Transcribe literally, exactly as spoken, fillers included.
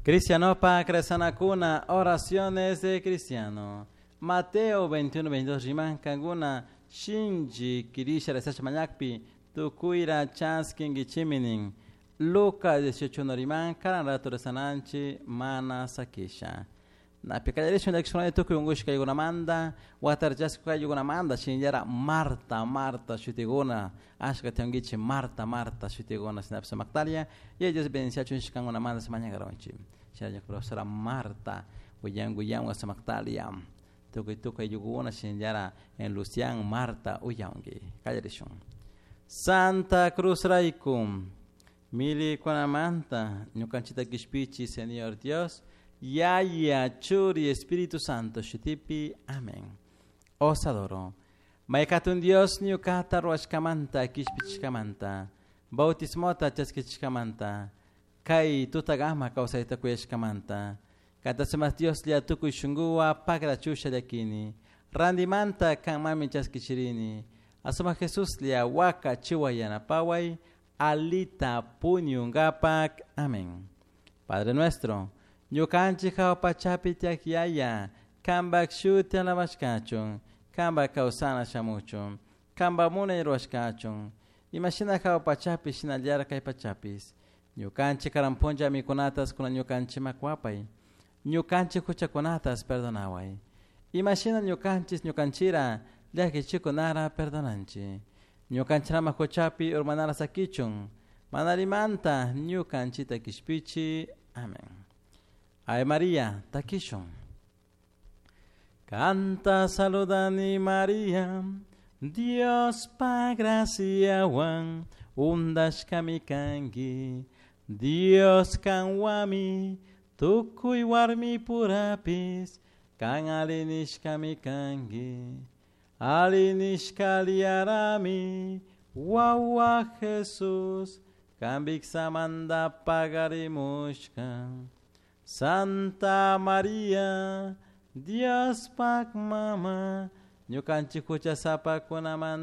Cristianopa rezanakuna, oraciones de cristiano. Mateo veintiuno veintidós riman kankuna shinchi kirisha rezasha mañakpi tukuyra chaskinkichiminin. Lucas dieciocho uno riman karan rato rezananchi mana sakisha. Napi kallarishun llakishkunata tukuy unkushka kaykunamanta, watarchashka kaykunamanta, shinallara Marta, Marta shutikuna, ashka tiyankichik Marta, Marta shutikuna, shinapish Magdalia, y Dios bendiciachun shkankunamanta mañakaronchik. Shinallara profesora Marta, uyan uyan Samactalia, tukuy tukuy ayllunkuna, shinallara en Lucian, Marta, uyanki. Kallarishun. Santa Cruz rayku, milikunamanta, ñukanchita kishpichi, Señor Dios, Yaya, Churi, Espíritu Santo, Shutipi, amén. Os adoro. Maykatun Dios, ñukata ruashkamanta, kishpichishkamanta, bautismota chaskichishkamanta, kay tutagama kawsayta kuyashkamanta, katasumas Dios lia tukuy shunguwa pagra chusha llakini, randimanta kanmami chaskichirini, asuma Jesús lia waka chiwa yanapaway, alita puñungapak, amén. Padre nuestro, ñukanchik hawa pachapi tiyak yaya, kanpak shuti alabashkachun, kanpak kawsana shamuchun, kanpak munay ruwashkachun, imashina hawa pachapi shinallara kay pachapis, ñukanchik karan punlla mikunatas kuna ñukanchik makwapay, ñukanchik huchakunatas perdonaway, imashina ñukanchis ñukanchira llakichikunara perdonanchik, ñukanchirama huchapi urmanara sakichun, manarimanta ñukanchita kishpichi, amén. Ave María, takishun. Canta saludani María, Dios pa graciawan, undashkami kanki, Dios kanwami, tukuy warmi purapis, kan alinishkami kanki, alinishkaliarami, wawa Jesús, kan biksamanta pagarimushka. Santa María, Dios pak mama, ñukanchik huchasapakunamanta.